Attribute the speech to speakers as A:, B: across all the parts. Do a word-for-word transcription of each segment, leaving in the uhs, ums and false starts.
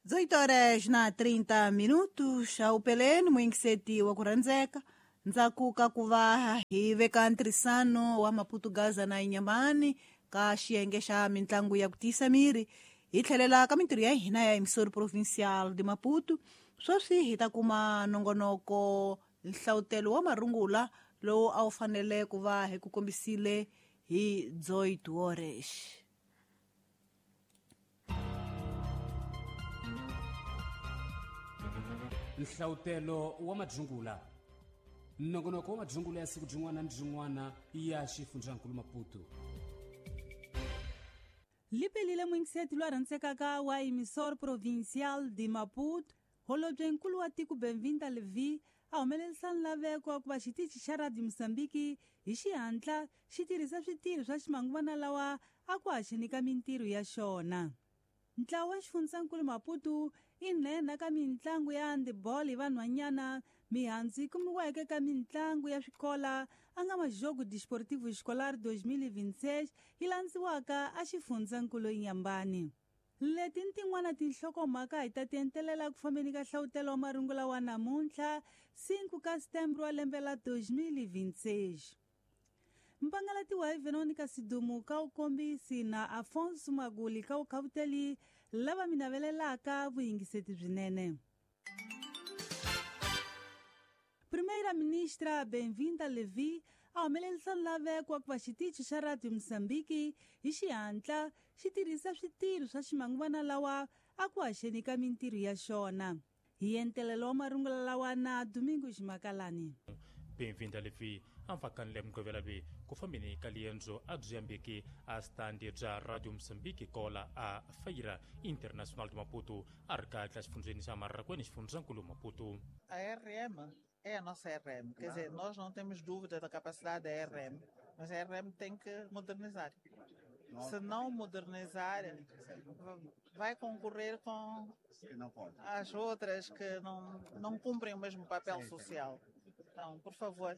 A: dezoito horas na trinta minutos a upeleni muingiseti wa ku rhandzeka ndzhaku ka ku va hi veka ntirhisano wa Maputo Gaza na Inhambane ka xiyenge xa mitlangu ya ku tiyisa miri hi tlhelela ka mintirho ya hina ya Emissora Provincial de Maputo. Sweswi hi ta kuma nongonoko nhlawutelo wa marungula lowu a wu fanele ku va hi ku kombisile hi dezoito horas.
B: Nhlawutelo wa madzungula, nongonoko wa madzungula ya siku byin'wana ni byin'wana ya xifundzankulu Maputo.
C: Lipelile muingiseti lwa rhandzekaka wa Emissora Provincial de Maputo, holobye nkulu wa tiko Benvinda Levi a humelerisa nlaveko wa ku va xitichi xa Radio Mozambique hi xihatla xi tirhisa switirho swa ximanguvana lawa a ku haxeni ka mintirho ya xona. Ntlawa wa xifundzankulu Maputo i nhenha ka mitlangu ya handball hi vanhwanyana, mihandzu yi kumiweke ka mitlangu ya swikola a nga Majogo Desportivo Escolar dois mil e vinte e seis yi landziwaka a xifundzankulu Inhambane. Leti ni tin'wana tinhlokomhaka hi ta ti entelela ku fambeni ka nhlawutelo wa marungula wa namuntlha cinco ka setembro wa lembe la dois mil e vinte e seis. Mpangalatiwa hi Veronica Sidumu ka ukombisi na Afonso Maguli ka ukhavuteli lava mi navelelaka vuyingiseti byinene. Primeira-ministra Benvinda Levi a humelerisa nlaveko wa ku va xitichi xa Radio Mozambique hi xihatla xi tirhisa switirho swa ximanguvana lawa a ku haxeni ka mintirho ya xona. Hi entelelo wa marungula lawa na Domingos Makalani.
D: Benvinda Levi a mfakanile mugqivela loyi ku fambeni ka liendzo a byi yambeki a standi bya Radio Mozambique kola a Feira Internacional de Maputo a ri kahle exifundzeni xa Marrakweni xifundzankulu Maputo.
E: A R M é a nossa R M, quer dizer, nós não temos dúvida da capacidade da R M, mas a R M tem que modernizar. Se não modernizar, vai concorrer com as outras que não, não cumprem o mesmo papel social. Então, por favor,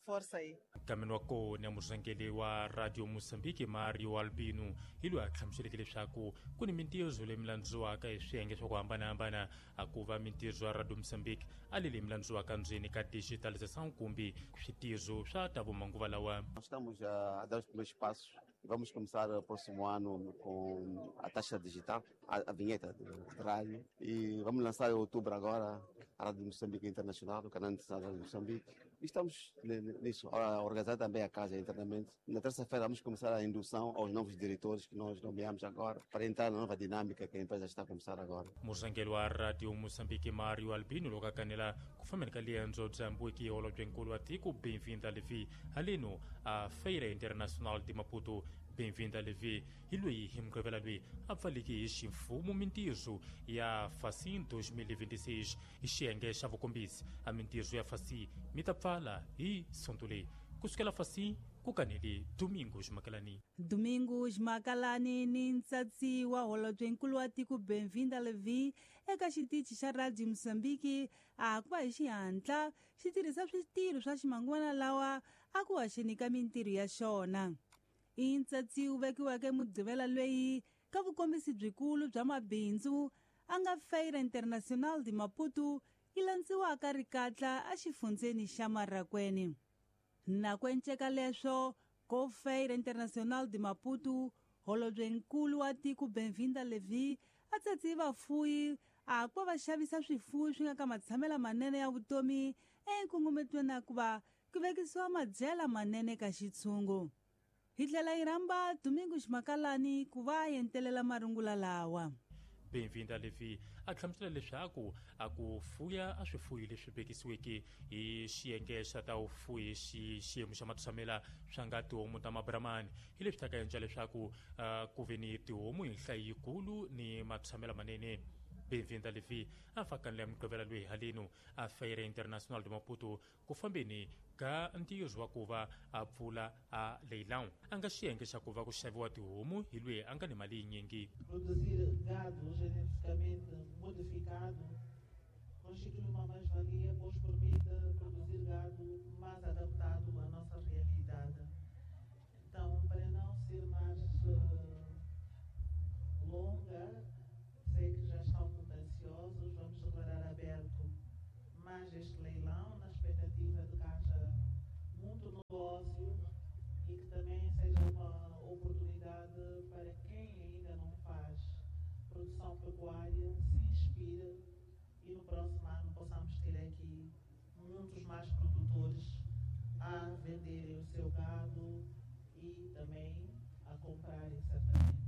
E: força aí.
D: Kameni wa kona murhangeri wa Radio Mozambique Mario Albino hi loyi a hlamuseleke leswaku ku ni mintirho leyi milandziwaka hi swiyenge swa ku hambanahambana a ku va mintirho ya Radio Mozambique a leyi milandziwaka ndzeni ka digitalização kumbe switirho swa ta vumanguva lawa.
F: Nós estamos a dar os primeiros passos. Vamos começar o próximo ano com a taxa digital, a, a vinheta de, de rádio, e vamos lançar em outubro agora a Rádio Moçambique Internacional, o canal internacional da Rádio Moçambique. E estamos nisso, a organizar também a casa internamente. Na terça-feira vamos começar a indução aos novos diretores que nós nomeamos agora, para entrar na nova dinâmica que a empresa está a começar agora.
D: Murhangeri wa Radio Moçambique Mario Albino loko a kanela ku fambeni ka liendzo bya mbuki holobyenkulu wa tiko Benvinda Levi haleno a Feira Internacional de Maputo. Benvinda Levi hi loyi hi mugqivela loyi a pfaleke hi ximfumo mintirho ya Facim dois mil e vinte e seis hi xiyenge xa vukombisi a mintirho ya Facim mi ta pfala hi sonto leyi kusukela Facim ku kanele Domingos Makalani.
C: Domingos Makalani ni ntsatsi wa holobyenkulu wa tiko Benvinda Levi eka xitichi xa Radio Mozambique a ku va hi xihatla xi tirhisa switirho swa ximanguvana lawa a ku haxeni ka mintirho ya xona. I ntsatsi wu vekiweke mugqivela loyi ka vukombisi byikulu bya mabindzu a nga Feira Internacional de Maputo yi landziwaka rikatla exifundzeni xa Marrakweni. Na ku enceka leswo ko Feira Internacional de Maputo, holobyenkulu wa tiko Benvinda Levi a tsatsi vafuyi a ku va xavisa swifuwo swi nga ka matshamela manene ya vutomi enkungumetweni na ku va ku vekisiwa madyela manene ka xitshungu. Hi tlhela yi rhamba Domingos Makalani ku va a entelela marungula lawa.
D: Benvinda Levi a hlamusela leswaku a ku fuya a swifuyi leswi vekisiweke hi xiyenge xa ta vufuyi xi xiyimo xa matshamela swa nga tihomu ta mabramani hi leswi ta ka endla leswaku uh, ku ve ni tihomu hi nhlayo yikulu ni matshamela manene. Benvinda Levi a fakanile mugqivela loyi haleno a Feira Internacional de Maputo ku fambeni ka ntirho wa ku va a pfula a leilão a nga xiyenge xa ku va ku xaviwa tihomu hi loyi a nga ni mali yinyingi.
E: Produzir gado geneticamente modificado constitui uma mais-valia, pois permite produzir gado mais adaptado à nossa realidade. Então, para não ser mais uh, longa, sei que já está haja este leilão, na expectativa de que haja muito negócio e que também seja uma oportunidade para quem ainda não faz produção pecuária se inspire e no próximo ano possamos ter aqui muitos mais produtores a venderem o seu gado e também a comprarem certamente.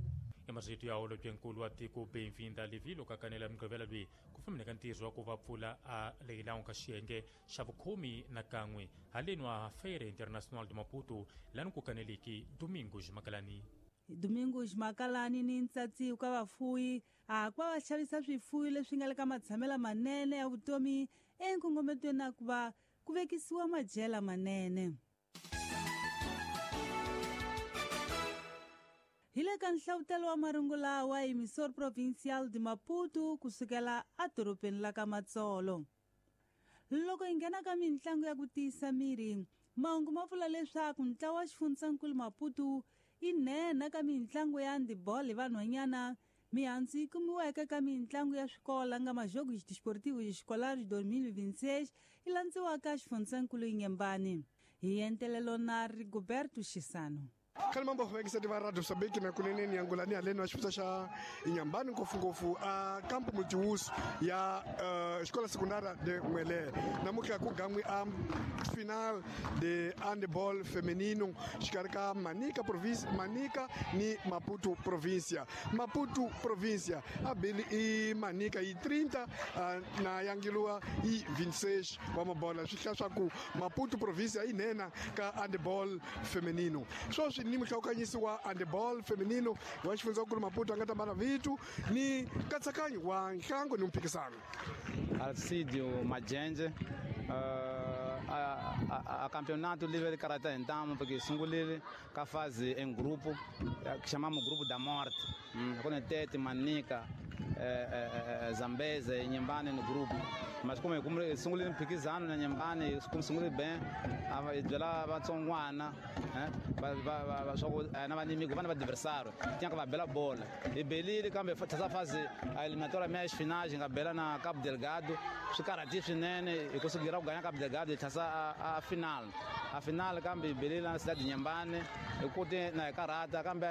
D: Emarito ya holobyenkulu wa tiko Benvinda Levi loko a kanela mugqivela loyi ku fambeni ka ntirho wa ku va pfula a leilão ka xiyenge xa vukhomi na kan'we haleni wa Feira Internacional de Maputo lani ku kaneliki Domingos Makalani.
C: Domingos Makalani ni ntsatsi ka vafuwi a ku va va xavisa swifuwi leswi nga le ka matshamelo manene ya vutomi enkongometweni na ku va ku vekisiwa madyela manene. Hi le ka nhlavutelo wa marungula wa Emissor Provincial de Maputo kusukela edorobeni la ka Matsolo. Loko hi nghena ka mitlangu ya ku tiyisa miri, mahungu ma vula leswaku ntlawa wa xifundzankulu Maputo i nhenha ka mitlangu ya handball hi vanhwanyana mihandzu yi kumiweke ka mitlangu ya swikola nga Majogos Desportivos Escolares dois mil e vinte e seis yi landziwaka xifundzankulu Inhambane. Hi entelelo na Rigoberto Chisano.
G: Khale mambo vekiseti va Radio Mozambique na kunene yangulani haleni wa xifundza xa Inhambane ngopfungopfu a campo multiuso ya uh, Escola Secundária de Muelé. Namuntlha ku gan'wi a final de handball feminino xikarhi ka Manica province, Manica ni Maputo província. Maputo província a bili i Manica i trinta uh, na Yangilua i vinte e seis wa mabola swi hlaya swa ku Maputo província yi nena ka handball feminino. Sweswi ni muhlawukanyisi wa handball feminino wa xifundzankulu Maputo a nga ta mbala vitu ni nkatsakanyo wa nhlango ni mphikisano.
H: Alcidio Majenje uh, a, a, a campeonato livre de karatê então porque sungulile ka fase em grupo que chamamos grupo da morte, hum, com Tete, Manica, eh, eh, Zambeze, Inhambane no grupo. Mas como como sungulile mphikizano na Inhambane, como sungulile bem, a byela vatsongwana, eh, va va va swa na vanimigo vana va adversário, tinha que va bela bola. E belile kambe essa fase a eliminatória meias finais nga bela na Cabo Delgado, swi karhati swinene hi kusugira ku ganha Cabo Delgado hi tlhasa a, a final. A final kambe belile na cidade de Inhambane, hi kote na hi karhata kambe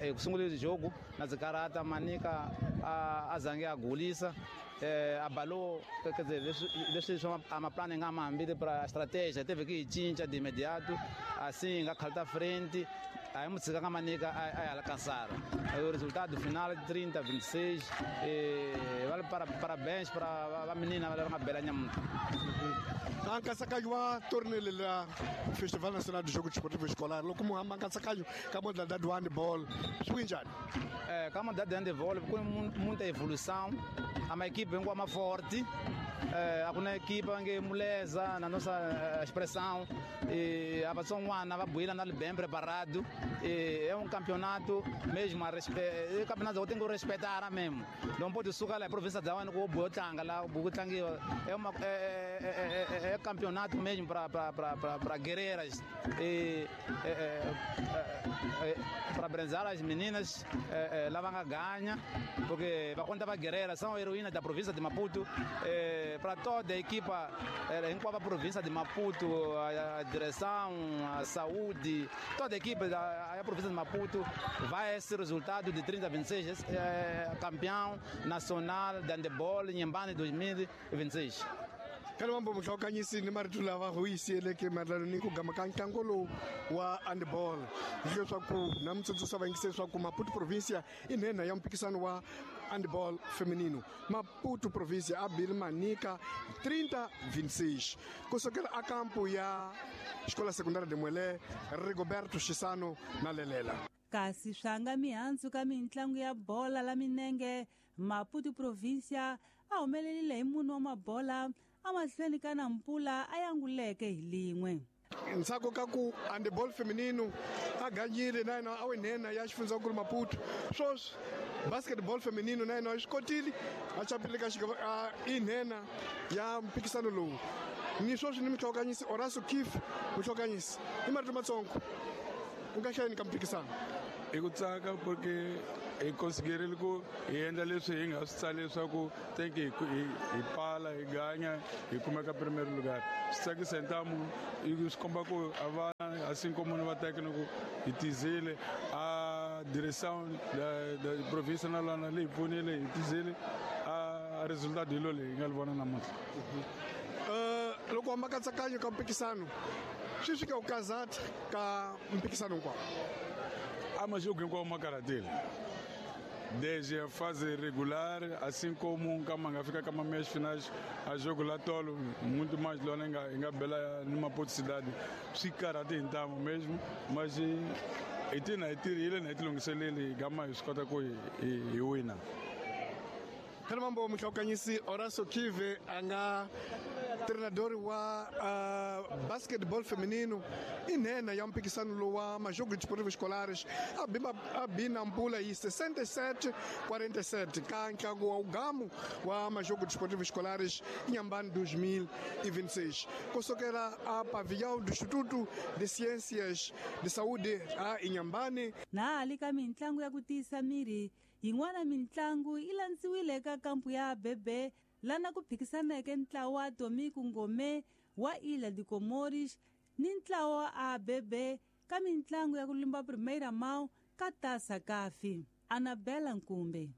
H: hi sungulile jogo na ndzi karhata Manica a, a zange a gulisa. Eh, abalou, quer dizer, leswi swa amaplano nga mambili para estratégia, teve que cinca de imediato, assim, nga khalta frente, aí mutshika nga Manica a alcançar. O resultado final trinta a vinte e seis, e vale para parabéns para a menina, vale uma bela nhamuta.
G: Nkatsakanyo wa torneio la Festival Nacional de Jogo Desportivo Escolar, loko muhamba nkatsakanyo ka modalidade wa handball, swi njhani?
H: É, ka modalidade de handball com muita evolução, a uma equipe vem com uma forte, é, a uma equipe que moleza na nossa expressão, e a vatsongwana va buila na bem preparado, e é um campeonato mesmo a respe, é campeonato que tem que respeitar mesmo. Não pode sucar lá a província da Wana com o Botlanga lá, o Botlanga é uma é, é, é, é campeonato mesmo para para para para guerreiras e é, é, é, é, para brenzar as meninas é, é, lá vão ganhar porque vai contar para guerreiras são heroínas da província de Maputo, é, para toda a equipa é, em qual a província de Maputo, a, a direção, a saúde, toda a equipe da a província de Maputo vai esse resultado de trinta a vinte e seis, é, campeão nacional de handebol em Inhambane dois mil e vinte e seis.
G: Khale mambo muhlawukanyisi ni marito lava hu yisiyeleke mayelana ni ku gama ka ntlangu lowu wa handball hileswaku na mutsundzuxa vayingiseri swa ku Maputo província i nhenha ya mphikisano wa handball feminino. Maputo província a bile Manica trinta a vinte e seis kusukela a kampo ya Escola Secundária de Muelé, Rigoberto Chisano na Lelela.
C: Kasi swanga mihandzu ka mitlangu ya bola la minenge, Maputo província a humelelile hi munhu wa mabola amahlweni ka Nampula a yanguleke hi lin'we.
G: Ntsako ka ku handball feminino a ganyile na yena a wi nhenha ya xifundzankulu Maputo. Sweswi basketball feminino na yena a swi kotile a chapile ka xigava i nhenha ya mphikisano lowu. Ni sweswi ni muhlawukanyisi Horacio Kif, muhlawukanyisi i marito matsongo u nga hlayeni ka mphikisano.
I: I ku tsaka porque Hi considerile ku hi endla leswi hi nga swi tsali leswaku tenke hi hi pala hi ganya hi kumeka primeiro lugar. Swi tsakisa hi ntamu swi komba ku a vana assim como no va técnico hi tizile a direção da da província na lana leyi pfunile hi tizile a resultado hi lo leyi hi nga li vona namuntlha.
G: Loko hamba katsakanyo ka mpikisano swi fika u kazata ka mpikisano hinkwawo
I: a majogo hinkwawo ma karhatile desde a fase regular, assim como kama nga fika kama meias finais a jogo lá tolo muito mais lona nga nga bela numa Maputo cidade swi karhate hi ntamu mesmo, mas hi tina hi tirhile na hi tilunghiseleli gama hi swi kota ku hi hi wina.
G: Khale mambo muhlawukanyisi Horacio Kive a nga treinador wa uh, basketball feminino i nhenha ya mpikisano lowu wa majogo desportivos escolares a bima a bina mpula hi sessenta e sete quarenta e sete ka ntlangu wa ugamu wa majogo desportivos escolares Inhambane dois mil e vinte e seis. Kusukela a pavilhão do Instituto de Ciências de Saúde a Inhambane.
C: Na hali ka mintlangu ya ku tiyisa miri yin'wana mintlangu yi landziwile eka kampu ya Bebe lana ku phikisaneke ntlawa wa Tomiko Ngome wa Ilha de Comores ni ntlawa wa A B B ka mintlangu ya ku limba Primeira Mão ka Taça Kafi. Anabela Nkumbe.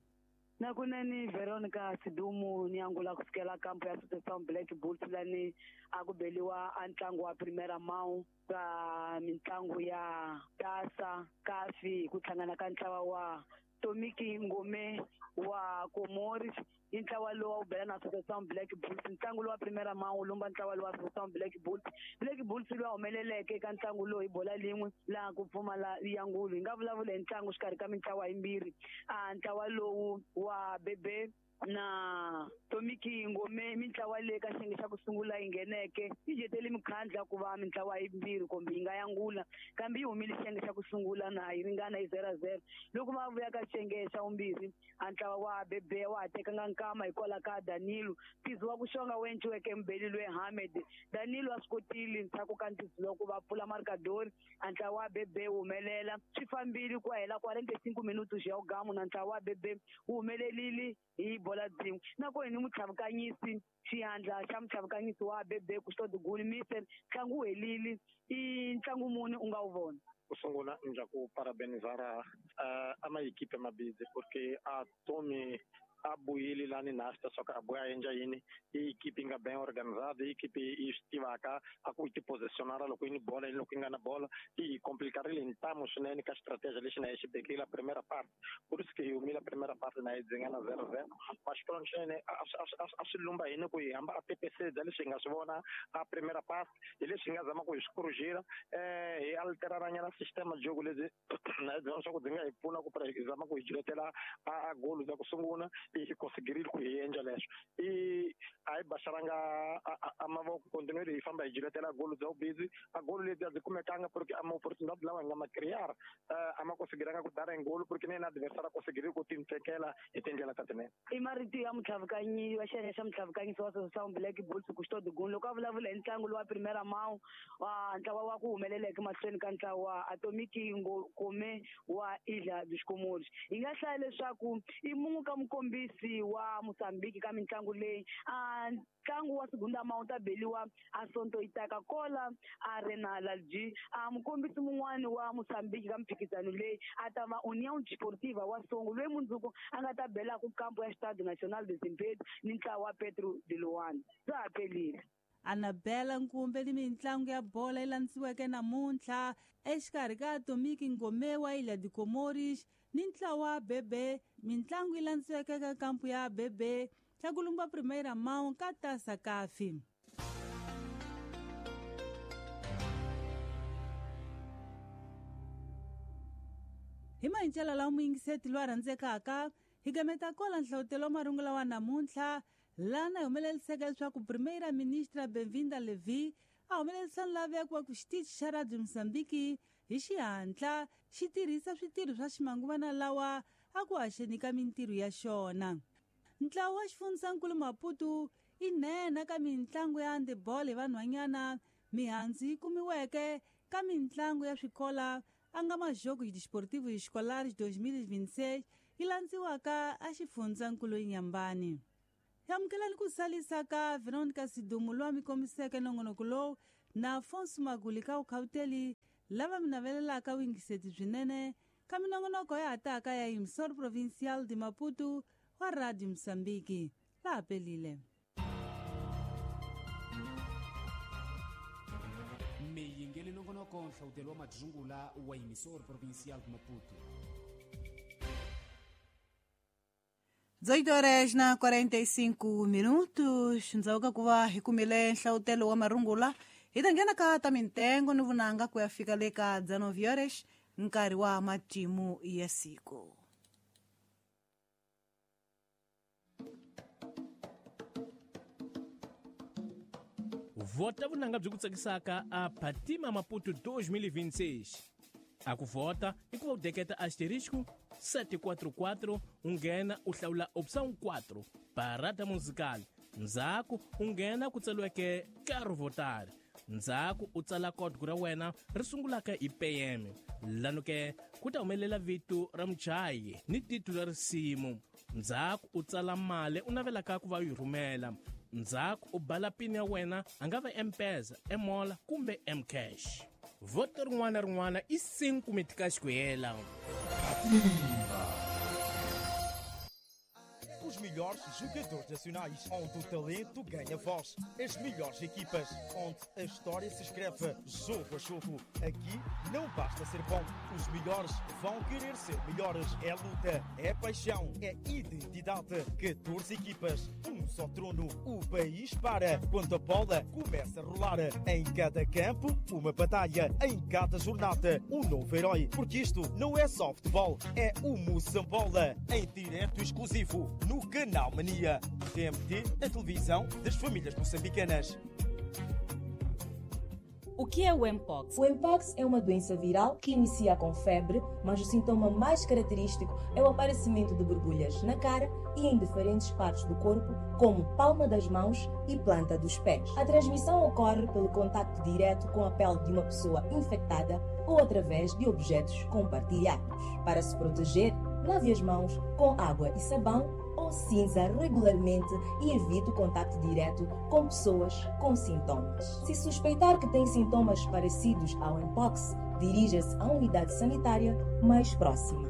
J: Nakunene Veronica Sidumu ni angula kusukela kampu ya Associação Black Bulls lani a ku beliwa a ntlangu wa Primeira Mão ka mintlangu ya Taça Kafi ku hlangana ka ntlawa wa Tomiki Ngome wa Comores i ntlawa lowu wu bela na Associação Black Bulls. Ntlangu lowu wa Primeira Mão wu lumba ntlawa lowu wa Associação Black Bulls. Black Bulls lowu humeleleke eka ntlangu lowu hi bola lin'we laha ku pfumala ya ngulu. Hi nga vulavula hi ntlangu xikarhi ka mintlawa yimbirhi. A ntlawa lowu wa Bebe na Tomiki Ngome mintlawa leyi ka xiyenge xa ku sungula yi ngheneke yi jetele mikhandla ku va mintlawa yimbirhi kumbe yi nga yangula kambe yi humile xiyenge xa ku sungula na yi ringana hi zero zero. Loko va vuya ka xiyenge xa vumbirhi a ntlawa wa Bebe wa ha tekanga nkama hikwalaho ka Danilo ntizo wa ku xonga wu endliweke mubeli loyi Hamed. Danilo a swi kotile ndzhaku ka ntizo loko va pfula markadori a ntlawa wa Bebe wu humelela swi fambile ku hela quarenta e cinco minutos ya ugamu na ntlawa wa Bebe wu humelelile hi bola byin'we. Nakona ni mutlhavukanyisi xiandla xa mutlhavukanyisi wa Bebe Custódio Gulmise ntlangu wu helile i ntlangu muni u nga wu vona.
K: Ku sungula ndza ku parabenizar uh, ama equipe mabidzi porque a Tomi a buyile lani nasta só que a buya endla yini i equipe nga bem organizada i equipe yi swi tivaka a ku ti posicionar loko yi ni bola loko yi nga na bola i complicarile ntamu swinene ka stratégia lexi na yi xi bekile primeira parte por isso que hi humile primeira parte na yi dzinga na zero zero mas pronto swinene a swi lumba hini ku hi hamba a P P C bya leswi hi nga swi vona a primeira parte hi leswi hi nga zama ku hi swi corrigir eh hi alteraranyana sistema jogo lebyi na hi byona swa ku byi nga hi pfuna ku hi zama ku hi jiletela a golo bya ku sungula i conseguirile ku hi endla leswo i a hi baxaranga a mavoko continuer hi famba hi jiletela golo bya vubizi a golo lebyi a byi kumekanga porque a ma-opportunidade lawa hi nga ma crear a ma conseguiranga ku dara hi golo porque ni yena adversário a conseguirile ku tintekela hi tindlela ta tinene.
J: I marito ya mutlhavukanyi wa xiyenge xa mutlhavukanyisi wa Associação Black Bulls Custódio Gulmi loko a vulavula hi ntlangu lowu wa Primeira Mão wa ntlawa wa ku humeleleke mahlweni ka ntlawa wa Atomiki Ngome wa Ilha dos Comores. Hi nga hlaya leswaku i mun'we ka mukombisi wa Mozambique ka mintlangu leyi a ntlangu wa segunda mão ta beliwa a Sonto Itaka kola Arena Lalji. A mukombisi mun'wani wa Mozambique ka mphikizano leyi a ta va União Desportiva wa Songo loyi mundzuku a nga ta bela ku kampo ya Estádio Nacional de Zimpeto ni ntlawa wa Petro de Luanda. Bya ha pelile.
C: Anabela Nkumbe ni mintlangu ya bola yi landziweke namuntlha exikarhi ka Atomiki Ngome wa Ilha de Comores ni ntlawa wa Bebe. Mintlangu yi landziweke ka kampu ya Bebe xa ku lumba Primeira Mão ka Taça Kafi. Hi mahincela lawa muyingiseti loyi a rhandzekaka hi gameta kola nhlawutelo wa marungula wa namuntlha lana hi humeleliseke leswaku Primeira Ministra Benvinda Levi a humelerisa nlaveko wa ku xitichi xa Radio Mozambique hi xihatla xi tirhisa switirho swa ximanguvana lawa a ku haxeni ka mintirho ya xona. Ntlawa wa xifundzankulu Maputo i nhenha ka mintlangu ya handball hi vanhwanyana mihandzu yi kumiweke ka mintlangu ya swikola a nga Majogos Desportivos Escolares dois mil e vinte e seis yi landziwaka a xifundzankulu Inhambane. Amukelani ku salisa ka Veronica Sidumu loyi a mi kombiseke nongonoko lowu na Afonso Maguli ka Ukhauteli lava mi navelelaka vuyingiseti byinene ka minongonoko ya hataka ya Emissora Provincial de Maputo wa Radio Moçambique. Laha pelile.
B: Miyingeli nongonoko nhlawutelo wa madzungula wa Emissora Provincial de Maputo.
A: dezoito horas na quarenta e cinco minutos, ndzauka kuva hi kumile nhlawutelo wa marungula hi ta nghena ka ta mintengo ni vunanga ku ya fika le ka dezenove horas nkarhi wa matimu ya siku.
L: Vota vunanga byi ku tsakisaka a Fatima Maputo dois mil e vinte e seis. A ku vota i ku va u deketa asterisco sete quatro quatro, u nghena u hlawula opção quatro, parada musical. Ndzhaku u nghena ku tsariweke Quero votar. Ndzhaku u tsala código ra wena ri sungulaka hi P M. Lano ke ku ta humelela vito ra muchayi ni titulu ra risimu. Ndzhaku u tsala mali u navelaka ku va u yi rhumela. Ndzhaku u bala pin ya wena a nga va M-Pesa, M-Mola kumbe M-Cash. Voto rin'wana na rin'wana i cinco meticais ku hela.
M: Os melhores jogadores nacionais, onde o talento ganha voz. As melhores equipas, onde a história se escreve jogo a jogo. Aqui não basta ser bom, os melhores vão querer ser melhores. É luta, é paixão, é identidade. catorze equipas, um só trono. O país para quando a bola começa a rolar. Em cada campo, uma batalha. Em cada jornada, um novo herói. Porque isto não é só futebol, é o Moçambola. Em direto exclusivo no Canal Mania. T M T, a televisão das famílias moçambicanas.
N: O que é o Mpox? O Mpox é uma doença viral que inicia com febre, mas o sintoma mais característico é o aparecimento de borbulhas na cara e em diferentes partes do corpo, como palma das mãos e planta dos pés. A transmissão ocorre pelo contacto direto com a pele de uma pessoa infectada ou através de objetos compartilhados. Para se proteger, lave as mãos com água e sabão ou cinza regularmente e evite o contacto direto com pessoas com sintomas. Se suspeitar que tem sintomas parecidos ao Mpox, dirija-se à unidade sanitária mais próxima.